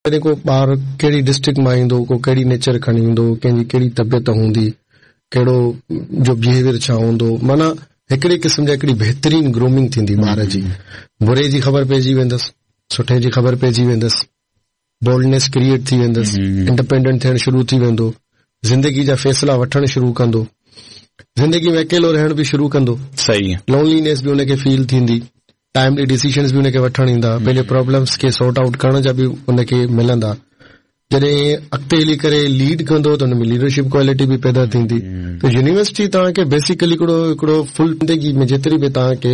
جڏهن ڪو ٻار ڪهڙي ڊسٽرڪٽ مان ايندو، ڪو ڪهڙي نيچر کڻي ايندو، ڪنهن جي ڪهڙي طبيعت هوندي، ڪهڙو جو بيهيويئر ڇا هوندو، معنيٰ هڪڙي قسم جا هڪڙي بهترين گرومنگ ٿيندي ٻار جي. بري جي خبر پئجي ويندس، سٺي جي خبر پئجي ويندس، بولڊنيس ڪريئيٽ ٿي ويندس، انڊيپينڊنٽ ٿيڻ شروع ٿي ويندو، زندگي جا فيصلا وٺڻ شروع ڪندو، زندگي ۾ اڪيلو رهڻ به شروع ڪندو، صحيح لونلينيس به ان کي فيل ٿيندي. ٽائملي ڊسيشنز به ان کي وٺڻ ايندا، پنهنجي پرابلمز کي سارٽ آئوٽ ڪرڻ جا به ان کي ملندا. جڏهن اڳتي هلي ڪري ليڊ ڪندو ته ان ۾ ليڊرشپ ڪوالٽي به پيدا ٿيندي. ته يونيورسٽي توهان کي بيسيڪلي هڪڙو هڪڙو فل زندگي ۾ جيتري به توهان کي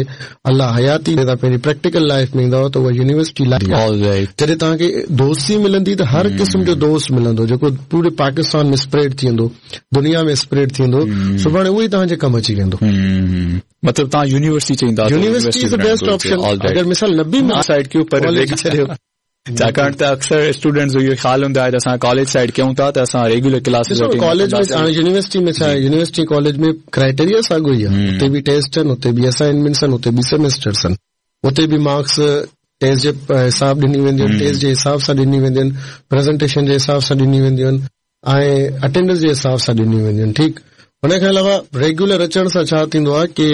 الله حياتي توهان پنهنجي پريڪٽيڪل لائف ۾ ايندؤ ته اها يونيورسٽي لائف آهي. جڏهن توهان کي دوستي ملندي ته هر قسم جو دوست ملندو جيڪو پوري پاڪستان ۾ اسپريڊ ٿي ويندو، دنيا ۾ اسپريڊ ٿي ويندو، سڀاڻي اهو ئي توهان جي ڪم اچي ويندو. مطلب توهان university چئيندا university is the best option اگر مثال نه به ملي سائيڊ ڪيو پر ڪاليج ڇڏيو ڇاڪاڻ ته اڪثر اسٽوڊنٽس جو اهو خيال هوندو آهي ته اسان ڪاليج سائيڊ ڪيون ٿا ته اسان ريگيولر ڪلاسز اٽينڊ ڪاليج ۾ هاڻي يونيورسٽي ۾ ڇا آهي يونيورسٽي ڪاليج ۾ ڪرائيٽيريا ساڳيو ئي آهي اتي به ٽيسٽ آهن اتي به اسائنمينٽس آهن اتي به سيمسٽرس آهن اتي به مارڪس ٽيسٽ جي حساب ڏني وينديون آهن ٽيسٽ جي حساب سان ڏني وينديون آهن پريزنٽيشن جي حساب سان ڏني وينديون آهن ۽ اٽينڊنس جي حساب سان ڏنيون وينديون آهن ٺيڪ ان کان علاوه ريگيولر اچڻ سان ڇا ٿيندو آهي ڪي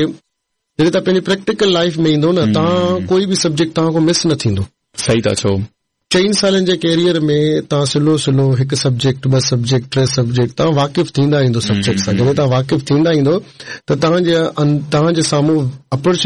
جڏهن توهان پنهنجي پريڪٽيڪل لائف ۾ ايندو نه توهان ڪوئي به سبجيڪٽ توهان کان مس نه ٿيندو. صحيح ٿا چئو. چئن سالن جي ڪيريئر ۾ توهان سلو سلو هڪ سبجيڪٽ ٻه سبجيڪٽ ٽي سبجيڪٽ توهان واقف ٿيندا ايندو سبجيڪٽ سان جڏهن توهان واقف ٿيندا ايندو ته توهان جي توهان جي سامهون اپرچونٽي.